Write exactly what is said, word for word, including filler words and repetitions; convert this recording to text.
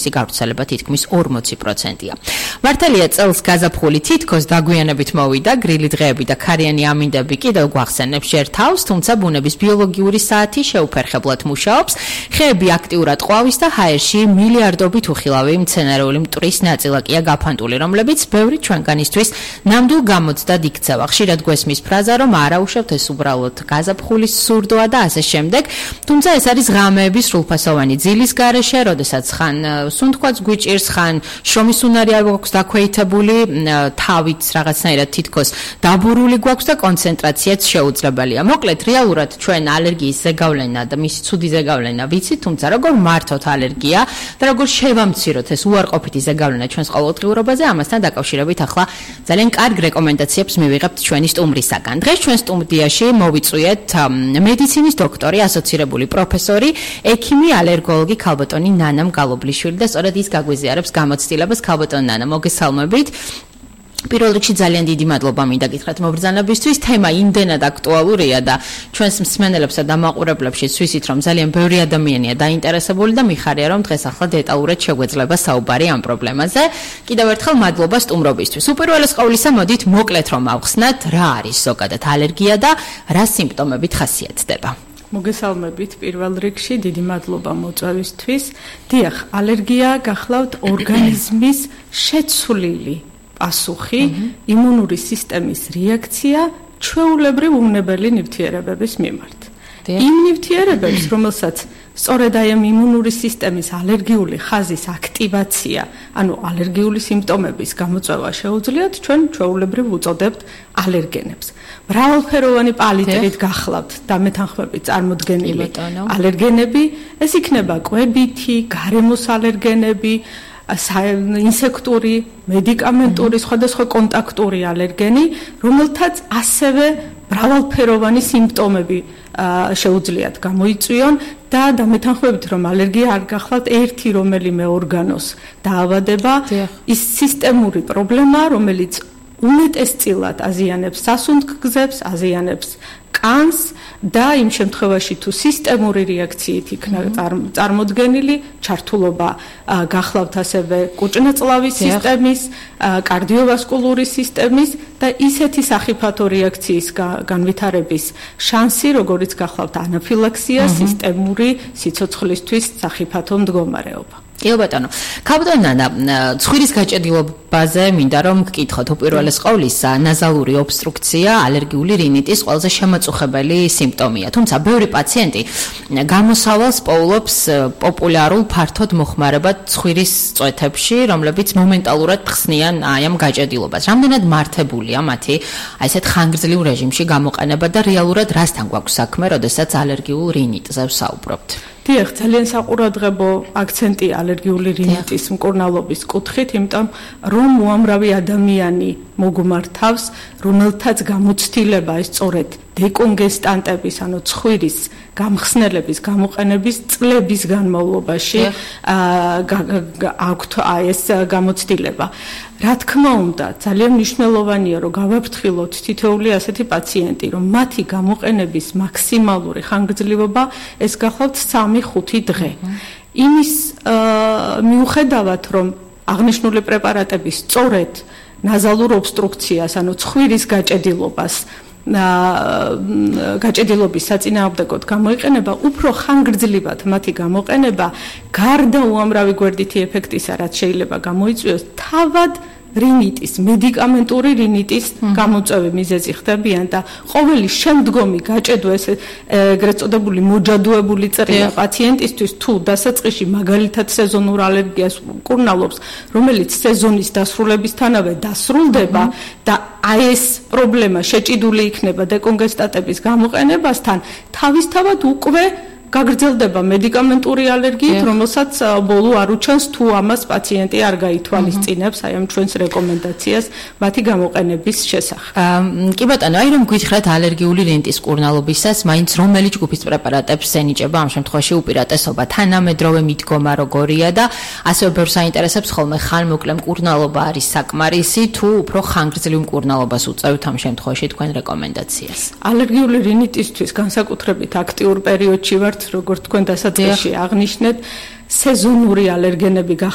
მისი გავრცელება თითქმის ორმოცი პროცენტია. მართალია წელს გაზაფხული თითქოს დაგვიანებით მოვიდა, გრილი დღეები და ქარიანი ამინდები კიდევ გვახსენებს ჯერ თავს, თუმცა ბუნების ბიოლოგიური საათი შეუფერხებლად მუშაობს, ხეები აქტიურად ყვავის და ჰაერში მილიარდობით უხილავი მცენარეული მტვრის ნაწილაკია გაფანტული, რომლებიც ბევრი ჩვენგანისთვის ნამდვილ გამოცდად იქცევა. ხშირად გვესმის ფრაზა, რომ არა უშევთ ეს უბრალოდ გაზაფხულის სურდოა და ასე შემდეგ, თუმცა ეს არის ღამეების სრულფასოვანი ძილის გარეშე, როდესაც ხან სუნთქვაც გვიჭირს, ხან შრომის უნარი არ გვაქვს დაქვეითებული, თავით რაღაცნაირად თითქოს დაბურული გვაქვს და კონცენტრაციაც შეუძლებელია. მოკლედ, რეალურად ჩვენ ალერგიის ზეგავლენა და მისი ცუდი ზეგავლენა ვიცით, თუმცა როგორ მართოთ ალერგია და როგორ შევამციროთ ეს უარყოფითი ზეგავლენა ჩვენს ყოველდღიურობაზე, ამასთან დაკავშირებით ახლა ძალიან კარგ რეკომენდაციებს მივიღებთ ჩვენი სტუმრისაგან. დღეს ჩვენ სტუდიაში მოვიწვიეთ მედიცინის დოქტორი, ასოცირებული პროფესორი, ექიმი, ალერგოლოგი ქალბატონი ნანა მგალობლიშვილი და სწორედ ის გაგვიზიარებს გამოცდილებას. ქალბატონი ნანა, მოგესალმებით. პირველ რიგში ძალიან დიდი მადლობა მინდა გითხრათ მობრძანებისთვის. თემა იმდენად აქტუალურია და ჩვენს მსმენელებსა და მაყურებლებშიც ვიცით, რომ ძალიან ბევრი ადამიანია დაინტერესებული და მიხარია, რომ დღეს ახლა დეტალურად შეგვეძლება საუბარი ამ პრობლემაზე. კიდევ ერთხელ მადლობა სტუმრობისთვის. უპირველეს ყოვლისა, მოდით მოკლედ რომ ავხსნათ, რა არის ზოგადად ალერგია და რა სიმპტომებით ხასიათდება. მოგესალმებით პირველ რიგში, დიდი მადლობა მოწვევისთვის. დიახ, ალერგია გახლავთ ორგანიზმის შეცვლილი პასუხი, იმუნური სისტემის რეაქცია ჩვეულებრივ უნებელი ნივთიერებების მიმართ. იმ ნივთიერებებს, რომელსაც სწორედ აი ამ იმუნური სისტემის ალერგიული ხაზის აქტივაცია, ანუ ალერგიული სიმპტომების გამოწვევა შეუძლიათ, ჩვენ ჩვეულებრივ უწოდებთ ალერგენებს. მრავალფეროვანი პალიტრით გახლავთ დამეთანხმებით წარმოდგენილი ალერგენები, ეს იქნება კვებითი, გარემოს ალერგენები, ინსექტური, მედიკამენტური, სხვადასხვა კონტაქტური ალერგენი, რომელთაც ასევე მრავალფეროვანი სიმპტომები შეუძლიათ გამოიწვიონ და დამეთანხმებით, რომ ალერგია არ გახლავთ ერთი რომელიმე ორგანოს დაავადება, ის სისტემური პრობლემა, რომელიც უმეტესწილად აზიანებს სასუნთქგზებს, აზიანებს კანს და იმ შემთხვევაში თუ სისტემური რეაქციით იქნა წარმოდგენილი ჩართულობა გახლავთ ასევე კუჭნაწლავის სისტემის, კარდიოვასკულური სისტემის და ისეთი სახიფათო რეაქციის განვითარების შანსი, როგორიც გახლავთ ანაფილაქსია, სისტემური სიცოცხლისთვის სახიფათო მდგომარეობა. კი ბატონო, ქალბატონი ნანა, ცხვირის გაჭედილობაზე მინდა რომ გკითხოთ უპირველეს ყოვლისა, ნაზალური ობსტრუქცია, ალერგიული რინიტის ყველაზე შემაწუხებელი სიმპტომია. თუმცა ბევრი პაციენტი გამოსავალს პოულობს პოპულარულ ფართოდ მოხმარებად ცხვირის წვეთებში, რომლებიც მომენტალურად ხსნიან აი ამ გაჭედილობას. რამდენად მართებულია მათი აი ესეთ ხანგრძლივ რეჟიმში გამოყენება და რეალურად რასთან გვაქვს საქმე, როდესაც ალერგიულ რინიტზე ვსაუბრობთ? დიახ, ძალიან საყურადღებო აქცენტი ალერგიული რინიტის მკურნალობის კუთხით, იმიტომ რომ უამრავი ადამიანი მოგმართავს, რომელთაც გამოცდილება ეს სწორედ დეკონგესტანტების, ანუ ცხვირის გამხსნელების გამოყენების წლების განმავლობაში აქვთ ეს გამოცდილება. რა თქმა უნდა, ძალიან მნიშვნელოვანია, რომ გავაფრთხილოთ თითოეული ასეთი პაციენტი, რომ მათი გამოყენების მაქსიმალური ხანგრძლივობა ეს გახლავთ სამი ხუთი დღე. იმის მიუხედავად, რომ აღნიშნული პრეპარატები სწორედ ნაზალურ ობსტრუქციას, ანუ ცხვირის გაჭედილობას გაჭედილობის საწინააღმდეგოდ გამოიყენება, უფრო ხანგრძლივად მათი გამოყენება გარდა უამრავი გვერდითი ეფექტისა, რაც შეიძლება გამოიწვიოს, თავად რინიტის, მედიკამენტური რინიტის გამოწვევი მიზეზი ხდებიან და ყოველი შემდგომი გაჭედვა, ეს ეგრეთ წოდებული მოჯადოებული წრია პაციენტისთვის, თუ დასაწყისში მაგალითად სეზონურ ალერგიას მკურნალობს, რომელიც სეზონის დასრულებისთანავე დასრულდება და აი ეს პრობლემა შეჭიდული იქნება დეკონგესტატების გამოყენებასთან, თავისთავად უკვე გაგრძელდება მედიკამენტური ალერგიით, რომელსაც ბოლო არ უჩანს, თუ ამას პაციენტი არ გაითვალისწინებს აი ამ ჩვენს რეკომენდაციას მათი გამოყენების შესახებ. კი ბატონო, აი რომ გითხრათ ალერგიული რინიტის მკურნალობისას, მაინც რომელი ჯგუფის პრეპარატებს ენიჭება ამ შემთხვევაში უპირატესობა, თანამედროვე მიდგომა როგორია და ასევე ბევრს აინტერესებს ხოლმე ხანმოკლე მკურნალობა არის საკმარისი, თუ უფრო ხანგრძლივ მკურნალობას უწევთ ამ შემთხვევაში თქვენ რეკომენდაციას. ალერგიული რინიტისთვის განსაკუთრებით აქტიურ პერიოდში ვართ, როგორც თქვენ დასაწყისში აღნიშნეთ, სეზონური ალერგენები